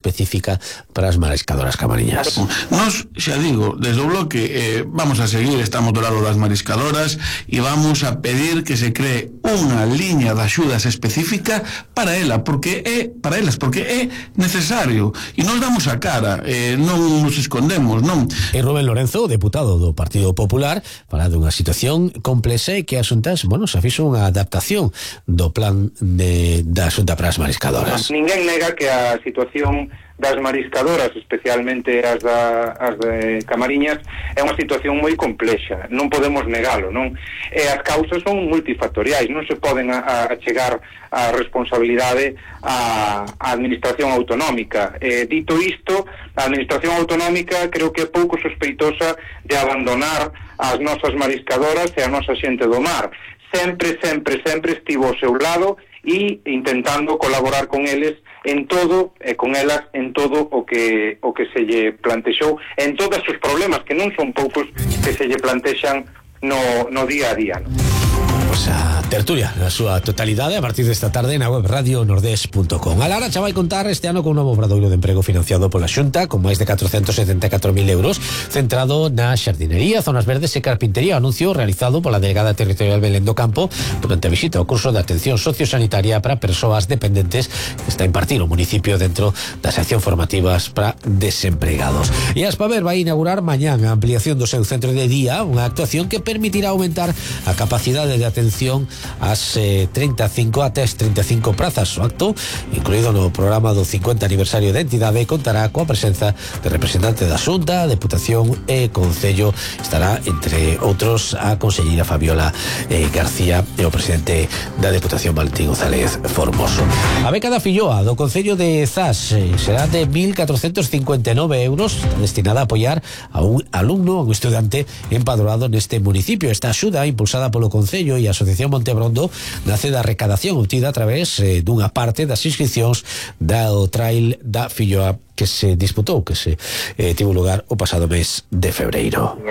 específica para as mariscadoras camariñas. Nos, xa digo, desde o bloque vamos a seguir, estamos do lado das mariscadoras e vamos a pedir que se cree unha liña de axudas específica para elas, porque é necesario e nos damos a cara, non nos escondemos, non? E Rubén Lorenzo, deputado do Partido Popular, fala dunha situación complexa e que a Xuntas, se fixo unha adaptación do plan da Xunta para as mariscadoras. Ninguén nega que a situación das mariscadoras, especialmente as de Camariñas, é unha situación moi complexa, non podemos negalo, non? E as causas son multifactoriais, non se poden achegar a responsabilidade á administración autonómica. Dito isto, a administración autonómica creo que é pouco sospeitosa de abandonar as nosas mariscadoras e a nosa xente do mar. Sempre estivo ao seu lado e intentando colaborar con eles en todo, e con elas en todo o que se lle plantexou, en todos os problemas, que non son poucos, que se lle plantexan no día a día, non? A tertulia na súa totalidade a partir desta tarde na web radionordés.com. A Lara xa vai contar este ano con un novo obradoiro de emprego financiado pola Xunta con máis de 474.000 euros centrado na xardinería, zonas verdes e carpintería, anuncio realizado pola delegada territorial Belén do Campo durante a visita ao curso de atención sociosanitaria para persoas dependentes que está a impartir o municipio dentro das accións formativas para desempregados. E a Aspaver vai inaugurar mañán a ampliación do seu centro de día, unha actuación que permitirá aumentar a capacidade de atención ás 35 prazas. O acto, incluído no programa do 50 aniversario da entidade, contará coa presenza de representante da Xunta, Deputación e Concello. Estará, entre outros, a conselleira Fabiola García e o presidente da Deputación Valentín González Formoso. A beca da filloa do Concello de Zas será de 1.459 euros, destinada a apoiar a un alumno, a un estudiante empadroado neste municipio. Esta axuda, impulsada polo Concello e a Asociación Montebrondo, nace da recadación obtida a través dunha parte das inscripcións do Trail da Filloa que se disputou, que se tivo lugar o pasado mes de febreiro.